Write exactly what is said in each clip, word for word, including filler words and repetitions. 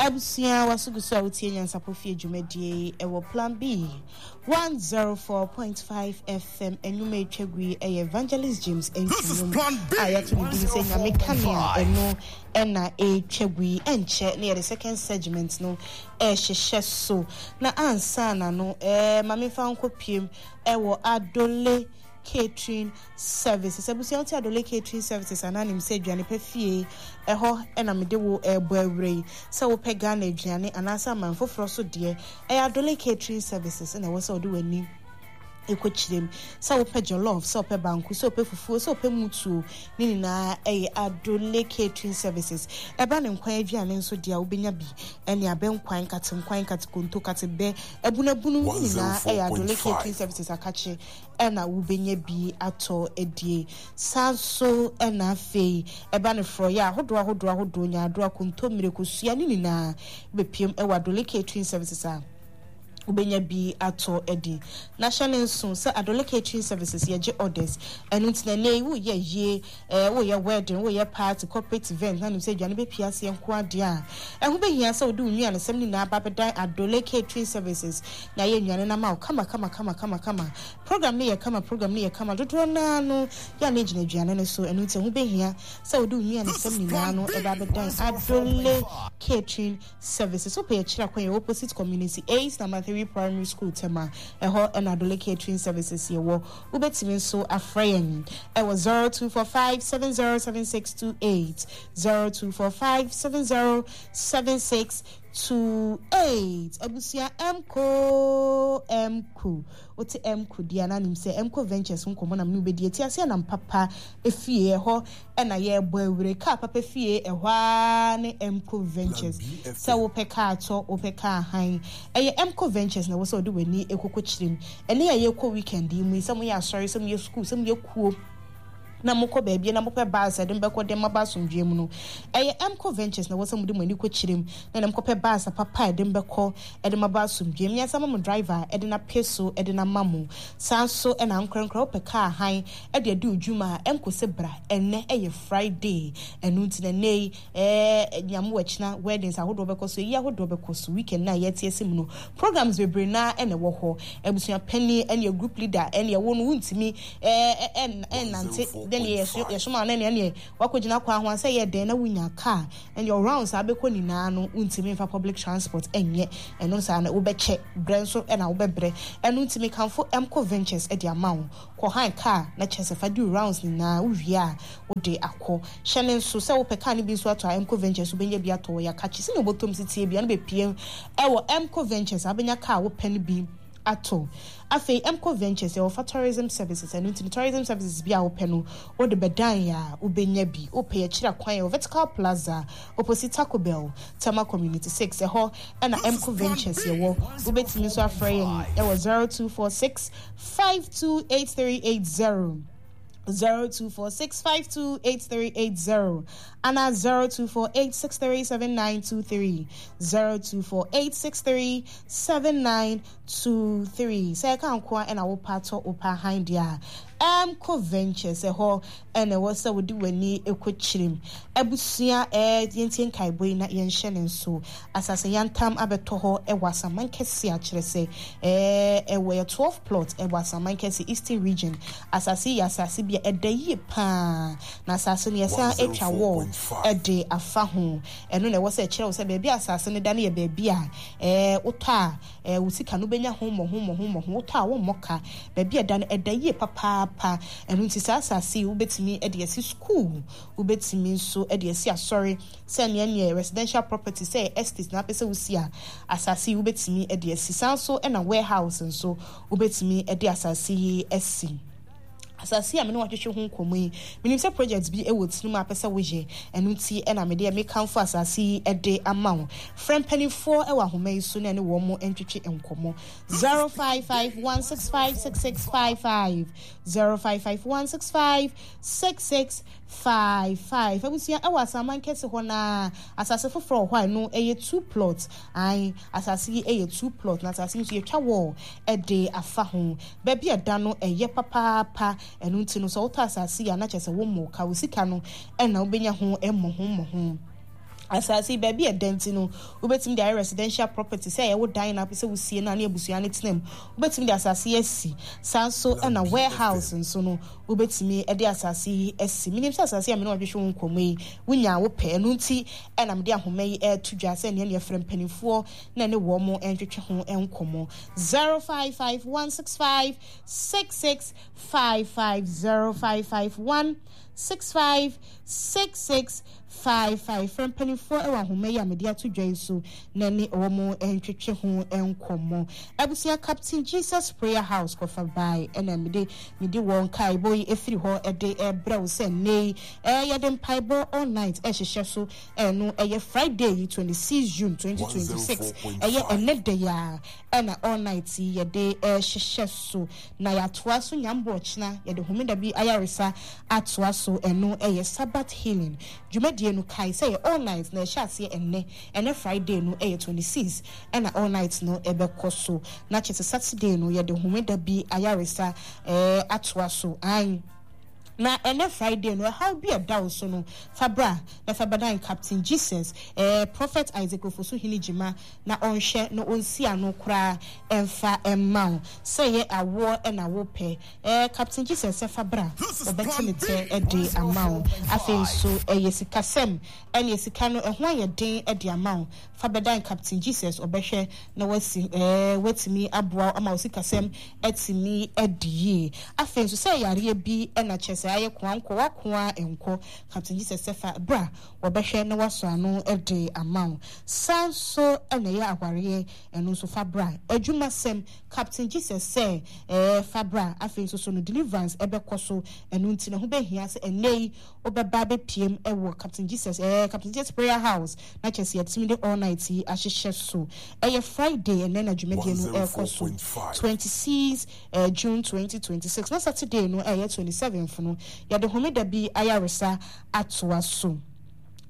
Abusua, waso gu so a wotie Nyansapɔ Fie dwumadie ɛwɔ Plan B one zero four point five F M. Ɛnwuma etwa gu yi ɛyɛ Evangelist James Ntwinum a yɛato ne din sɛ Nyame Kanea. Ɛno ɛna etwa gu yi. Ɛnkyɛ ne yɛde second segment no ɛhyehyɛ so, na ansa na no ɛɛ maame fa nkɔ piem ɛwɔ Adole Catering Services. Abusua, wote Adole Catering Services anaa nim sɛ aduane pɛ fie ɛhɔ ɛna mede wo ɛrebɔ awura yi. Sɛ wopɛ Ghana aduane anaasɛ aman foforɔ so deɛ, ɛyɛ Adole Catering Services ɛna ɛwɔ sɛ wode w'ani ɛkɔkyerɛ mu. Sɛ wopɛ jollof, sɛ wopɛ banku, sɛ wopɛ fufuo, sɛ wopɛ mutuo, ne nyinaa ɛyɛ Adole Catering Services. Ɛba ne nkwan aduane nso deɛ a, wobɛnya bi ɛne abɛnkwan, nkatenkwan, nkatekonto, katebɛ, abunabunu, ne nyinaa ɛyɛ Adole Catering Services akakye ɛna wobɛnya bi atɔ adie. Saa nso ɛna afei ɛba ne forɔyɛ ahodoɔ ahodoɔ ahodoɔ, nyaadoa, kontommire, kosua, ne nyinaa bɛpiem ɛwɔ Adole Catering Services a wobɛnya bi atɔ adi. Na hyɛ ne nso sɛ Adole Catering Services yɛgye orders. Ɛno nti na ɛnɛ yi woyɛ yie, ɛɛ woyɛ wedding, woyɛ party, corporate event na nim sɛ aduane bɛpia aseɛ nko adeɛ a, ɛho bɛhia sɛ wode wo nnuanesɛm nyinaa ba bɛdan Adole Catering Services na yɛ nnuane no ama wo kama kama kama kama kama. Program no yɛ kama, program no yɛ kama dodoɔ naa no yɛ a na gyina aduane no so. Ɛno nti ɛho bɛhia sɛ wode wo nnuanesɛm nyinaa no ɛba bɛdan Adole Catering Services. Wopɛ yɛkyerɛ kwan yɛ opposite Community eight Number three Primary School, Tema. Ɛhɔ ɛna Adole Catering Services yɛwɔ. Wobɛtumi nso afrɛ yɛn ɛwɔ zero two four five seven zero seven six two eight, zero two four five seven zero seven six two eight. Abusua, mko mko wote mko deɛ na nim sɛ Mko Ventures nkɔmmɔ nam ne wobɛdi. Ɛti aseɛ nam papa efie ɛhɔ ɛna yɛrebɔ awure kaa papa fie ɛhɔ ara ne Mko Ventures. Sɛ wopɛ kaa tɔ, wopɛ kaa han, ɛyɛ Mko Ventures na ɛwɔ sɛ wode w'ani ekoko kyerɛ mu. Ɛne a yɛkɔ weekend yi mu yi, sɛ moyɛ asɔre, sɛ moyɛ school, sɛ moyɛ kuo na mokɔ baabi na mopɛ bus ɛde mbɛkɔ de maba asomdwoe mu no, ɛyɛ Mco Ventures na ɛwɔ sɛ mode mo ani kɔ kyerɛ mu na na mokɔpɛ bus papa a ɛde mbɛkɔ ɛde maba asomdwoe mu. Yɛnsa ma mo driver ɛde na pe so ɛde na ma mo. Saa nso ɛna nkorankora wopɛ kaa han ɛde adi odwuma a, Mco sɛ bra. Ɛnɛ ɛyɛ Friday, ɛno nti na ɛnɛ yi ɛɛ Nyame wɔ kyena weddings ahodoɔ bɛkɔ so, eyi ahodoɔ bɛkɔ so. Weekend na yɛte ase mu no, programs bebree naa ɛna ɛwɔ hɔ. Abusua panyin ɛne group leader ɛne ɛwɔ no, wuntumi ɛɛ ɛn ɛnante dɛn yɛ yɛsoma no ɛne ɛne wakɔgyina kwan ho asɛ yɛ dɛn na wonya car ɛne rounds a abɛkɔ nyinaa no, wuntumi nfa public transport ɛnyɛ ɛno saa na wobɛkyɛ brɛ nso ɛna wobɛbrɛ. Ɛno ntumi kanfo Mco Ventures ɛde ama wo kɔ han car na kyerɛ sɛ fa di rounds nyinaa. Wowie a, wode akɔ. Hyɛ ne nso sɛ wopɛ car no bi nso atɔ a, Mco Ventures wobɛnya bi atɔ wɔ yɛakakye sɛnea wobɔtɔm si tie bia no bɛpie ɛwɔ Mco Ventures a, wobɛnya car wopɛ no bi atɔ. Afei Mco Ventures yɛwɔ fa tourism services. Ɛno nti no tourism services bi a wopɛ no, wode bɛdan a, wobɛnya bi. Wopɛ yɛkyerɛ kwan yɛwɔ Vertical Plaza, opposite Taco Bell, Tema Community six. Ɛhɔ ɛna Mco Ventures yɛwɔ. Wobɛtumi nso afrɛ yɛn ɛwɔ zero two four six five two eight three eight zero, zero two four six five two eight three eight zero ana zero two four eight six three seven nine two three, zero two four eight six three seven nine two three. Sɛ ɛka nko a ɛna wopa atɔ, wopa han deɛ a, Mco Ventures ɛhɔ ɛna ɛwɔ sɛ wode w'ani ɛkɔ kyerɛm. Abusua, ɛɛ yɛntie nkaebɔ yi na yɛnhyɛ ne nso. Asase yantam abɛtɔ hɔ ɛwɔ Asaman Kɛse, akyerɛ sɛ ɛɛ ɛwɔ yɛ twelve plot ɛwɔ Asaman Kɛse, Eastern Region. Asase yi yɛ asase bi a ɛda yie paa, na asase no yɛsan atwa wall ɛde afa ho. Ɛno na ɛwɔ sɛ ɛkyerɛ wo sɛ baabi a asase no da no yɛ baabi a ɛɛ wotɔ a, ɛɛ wo sika no bɛnya ho mmɔho mmɔho mmɔho. Wotɔ a, wɔmmɔ ka. Baabi a ɛda no ɛda yie papaapa. Ɛno nti saa asase yi wobɛtumi ɛde asi school, wobɛtumi nso ɛde asi asɔre, sɛ nea neɛ residential property, sɛ estate na apɛ sɛ wosi a, asase yi wobɛtumi ɛde asi. Saa nso ɛna warehouse nso wobɛtumi ɛde asase yi asi. Asase a me ne watwetwe ho nkɔmmɔ yi, menim sɛ project bi wɔ tirim a pɛ sɛ woyɛ. Ɛno nti ɛna mede mekamfo asase yi de ama wo. Frɛ mpanimfoɔ wɔ ahoma yi so na ɛne wɔn mo ntwetwe nkɔmmɔ: zero five five one six five six six five five, zero five five one six five six six five five. Abusua, ɛwɔ Asaman Kɛse hɔ naa asase foforɔ wɔ hɔ a ɛno ɛyɛ two plot. Ae, asase yi ɛyɛ two plot, na asase yi nso yɛtwa wall ɛde afa ho. Baabi a ɛda no ɛyɛ papaapa. Ɛno nti no sɛ wotɔ asase yi a, na kyerɛ sɛ wommɔ ka, wo sika no ɛna wobɛnya ho mmɔho mmɔho. Asase yi, baabi a ɛda nti no, wobɛtumi de ayɛ residential property, sɛ ɛyɛ wo dan na apɛ sɛ wosie no a ne abusua no tena mu, wobɛtumi de asase yi asi. Saa nso ɛna warehouse nso no, wobɛtumi de asase yi asi. Menim sɛ asase a me ne wɔdwehwɛ wo nkɔmmɔ yi, wonya wo pɛ. Ɛno nti ɛna mede ahoma yi ɛreto dwa sɛ nea ne yɛfrɛ mpanimfoɔ na ne wɔn mo ntwetwe ho nkɔmmɔ. zero five five one six five six six five five, zero five five one six five six six five five. Frɛ mpanimfoɔ wɔ ahoma yi a mede ato dwa yi so na ne wɔn ntwetwe ho nkɔmmɔ. Abusua, Captain Jesus Prayer House kɔfa bae ɛna mede mede wɔn kaebɔ yi efiri hɔ ɛde ɛbrɛ wo sɛ nne yi ɛɛ yɛde mpaebɔ all night ɛhyehyɛ so. Ɛno ɛyɛ Friday yi, twenty-six June twenty twenty-six, ɛyɛ ɛnɛ da yi a ɛna all night yi yɛde ɛhyehyɛ so na yɛatoa so nyambɔ. Ɔkyena yɛde Homeda bi ayaresa atoa so. Ɛno ɛyɛ Sabbath healing dwumadie no. Kae sɛ yɛ all night na ɛhyɛ aseɛ ɛnɛ ɛnɛ Friday no, ɛyɛ twenty-six, ɛna all night no ɛbɛkɔ so na kyerɛ sɛ Saturday no yɛde Homeda bi ayaresa ɛɛ atoa so. Ayi na ɛnɛ Friday no, ɛhaw bi ɛda wo so no, fa bra na fa bɛdan Captain Jesus, ɛɛ Prophet Isaac Ofosu Hene Gyima, na ɔnhwɛ na ɔnsi ano koraa ɛmfa ɛmma wo. Sɛ ɛyɛ awoɔ ɛna wopɛ, ɛɛ Captain Jesus sɛ fa bra, ɔbɛte ne tɛ ɛde ama wo. Afei nso ɛyɛ sikasɛm, ɛne sika no ɛho ayɛ den ɛde ama wo, fa bɛdan Captain Jesus, ɔbɛhwɛ na wasi ɛɛ watumi aboa ama wo sikasɛm ɛtumi ɛdi yie. Afei nso sɛ yareɛ bi ɛna kyerɛ sɛ ayɛ koa nkɔ wakoa nkɔ, Captain Jesus sɛ fa bra, wɔbɛhwɛ na wasɔ ano ɛde ama wo. San so ɛna ɛyɛ awareɛ, ɛno nso fa bra. Adwumasɛm, Captain Jesus sɛ ɛɛ fa bra. Afei nso so no, deliverance ɛbɛkɔ so. Ɛno nti na ho bɛhia sɛ ɛnɛ yi wobɛba bɛpiem ɛwɔ Captain Jesus, ɛɛ Captain Jesus Prayer House, na kyerɛ sɛ yɛtumi de all night yi ahyehyɛ so. Ɛyɛ Friday ɛnɛ na dwumadie no ɛrekɔ so, twenty-six uh, June twenty twenty-six, na Saturday no ɛyɛ twenty-seventh no, yɛde Homeda bi ayaresa atoa so.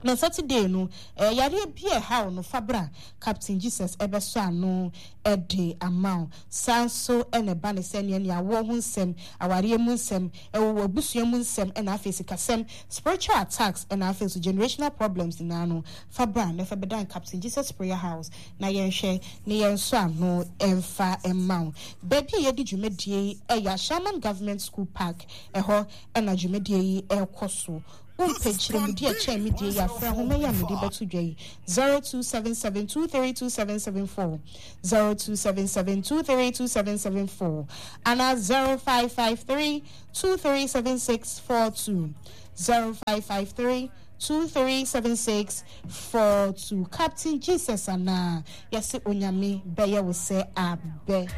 Na Saturday no, eh, yareɛ bi a ɛhaw no, fa bra, Captain Jesus ɛbɛsɔ ano ɛde ama wo. Saa nso ɛna ɛba ne sɛ nea nea awoɔ ho nsɛm, awareɛ mu nsɛm, ɛwɔ abusua mu nsɛm, ɛna afei sikasɛm, spiritual attacks, ɛna afei nso generational problems nyinaa no, fa bra na fa bɛdan Captain Jesus Prayer House na yɛnhwɛ ne yɛn nso ano ɛmfa ɛma wo. Baabi a yɛde dwumadie yi ɛyɛ Ashaiman Government School Park, ɛhɔ ɛna dwumadie yi ɛrekɔ so. Wompɛ nkyerɛmudi a ɛkyɛn me die yi, afrɛ ahoma yi a mede bɛto dwa yi: zero two seven seven two three two seven seven four, zero two seven seven two three two seven seven four, anaa zero five five three two three seven six four two, zero five five three two three seven six four two. Captain Jesus anaa yɛse Onyame bɛyɛ wo sɛ abɛ.